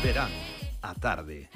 Serán a tarde.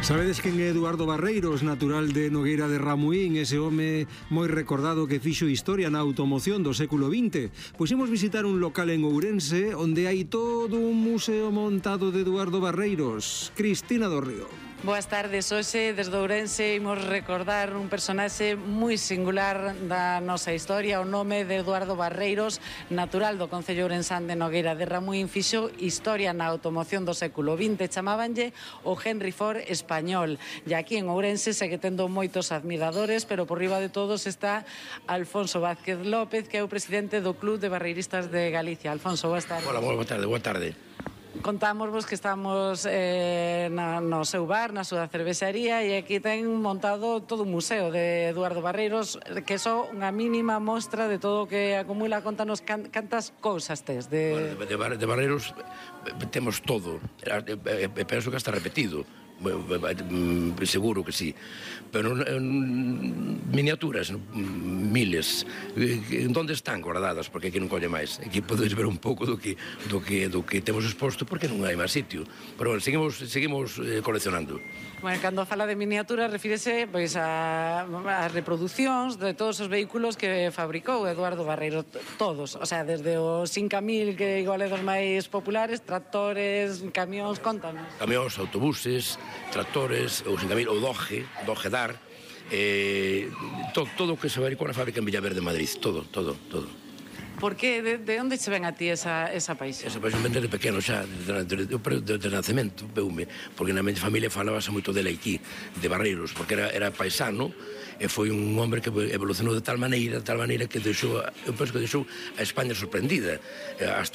Sabedes quen é Eduardo Barreiros, natural de Nogueira de Ramuín, ese home moi recordado que fixo historia na automoción do século XX? Pois imos visitar un local en Ourense onde hai todo un museo montado de Eduardo Barreiros. Cristina do Río. Boas tardes, hoxe desde Ourense imos recordar un personaxe moi singular da nosa historia, o nome de Eduardo Barreiros, natural do concello ourensán de Nogueira de Ramuín, fixo historia na automoción do século XX, chamábanlle o Henry Ford español, e aquí en Ourense segue tendo moitos admiradores, pero por riba de todos está Alfonso Vázquez López, que é o presidente do Club de Barreiristas de Galicia. Alfonso, boas tardes. Hola, boa tarde. Contámosvos que estamos no seu bar, na súa cervexaría, e aquí ten montado todo un museo de Eduardo Barreiros, que é só unha mínima mostra de todo o que acumula. Contanos cantas cousas tes de Barreiros temos todo, penso que está repetido, seguro que sí, pero miniaturas miles. Onde están guardadas? Porque aquí non colle máis. Aquí podes ver un pouco do que temos exposto, porque non hai máis sitio, pero bueno, seguimos coleccionando. Bueno, cando fala de miniaturas refírese pois a reproducións de todos os vehículos que fabricou Eduardo Barreiros, todos, o sea, desde os 5000, que igual é dos máis populares, tractores, camións, contanos. Camións, autobuses, tractores, o 5000, o Doge Dar, todo o que se fabricou na fábrica en Villaverde, Madrid, todo. Por que? De onde se ven a ti esa paixón? Esa paixón ven desde pequeno xa, desde nacemento, veume, porque na miña familia falábase moito dele aquí, de Barreiros, porque era paisano, e foi un hombre que evolucionou de tal maneira que deixou, eu penso que deixou a España sorprendida, hasta